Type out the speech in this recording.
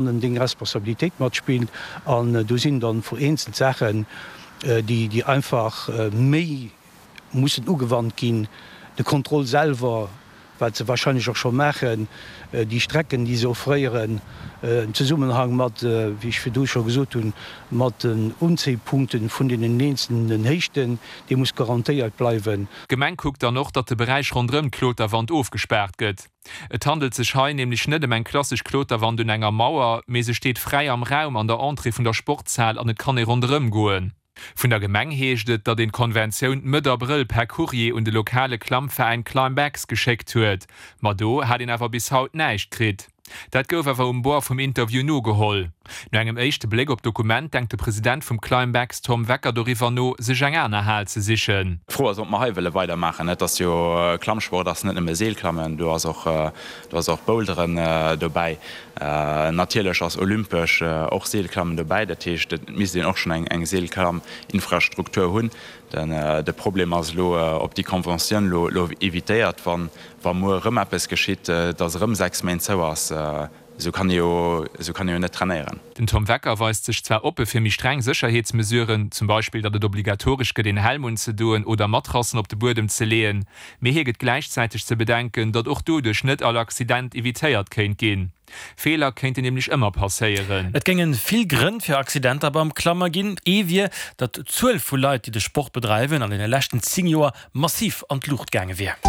Deng Responsabilitéit matspillt. An do sinn dann vereenzelt Saachen, déi einfach méi mussen ugewannt ginn. De Contrôle selwer, wat se wahrscheinlech och scho maachen, déi Strecken, déi se offréieren, am Zesummenhang mat, wéi ech virdu scho gesot hunn, mat den Unzéipunkte vun deenen eenzelnen Héichten, dee muss garantéiert bleiwen. D'Gemeng kuckt dann och, datt de Beräich ronderëm d'Kloterwand ofgespaart gëtt. Et handelt sech hei nämlech net ëm eng klassesch Kloterwand un enger Mauer, mee se steet fräi am Raum an der Entrée vun der Sportshal an et kann ee ronderëm goen. Vun der Gemeng heescht et, datt een d'Konventioun Mëtt Abrëll per Courrier un de lokale Klammveräin Climbx geschéckt huet. Ma do hat een awer bis haut näischt kritt. Dat gouf awer um Bord vum Interview nogeholl. No engem éischte Bléck op d'Dokument denkt de President vum Climbx Tom Wecker doriwwer no, sech eng aner Hal ze sichen. D'Fro ass, ob mer hei wëlle weidermaachen. Et ass jo, Klammsport ass net nëmme Seelklammen, do ass och, do ass och Boulderen dobäi. Natierlech ass olympesch och Seelklammen dobäi. Dat heescht, et misst een och schonn eng Seelklamminfrastruktur hunn. De Problem ass elo, ob déi Conventioun elo evitéiert, wa muer erëm eppes geschitt, datt erëm 6 Méint zou ass. Esou kann ee jo, esou kann ee jo net trainéieren. Den Tom Wecker weist sech zwar oppe fir méi streng Sécherheetsmesuren, zum Beispill datt et obligatoresch gëtt een Helm unzedoen oder Matrassen op de Buedem ze leeën, mee hie gëtt gläichzäiteg ze bedenken, datt och doduerch net all Accident evitéiert kéint ginn. Feeler kéinten nämlech ëmmer passéieren. Et géinge vill Grënn fir Accidenter beim Klamme ginn. Ee wier, datt d'Zuel vu Leit, déi de Sport bedreiwen, an deene leschten 10 Joer massiv an d'Luucht gaange wier.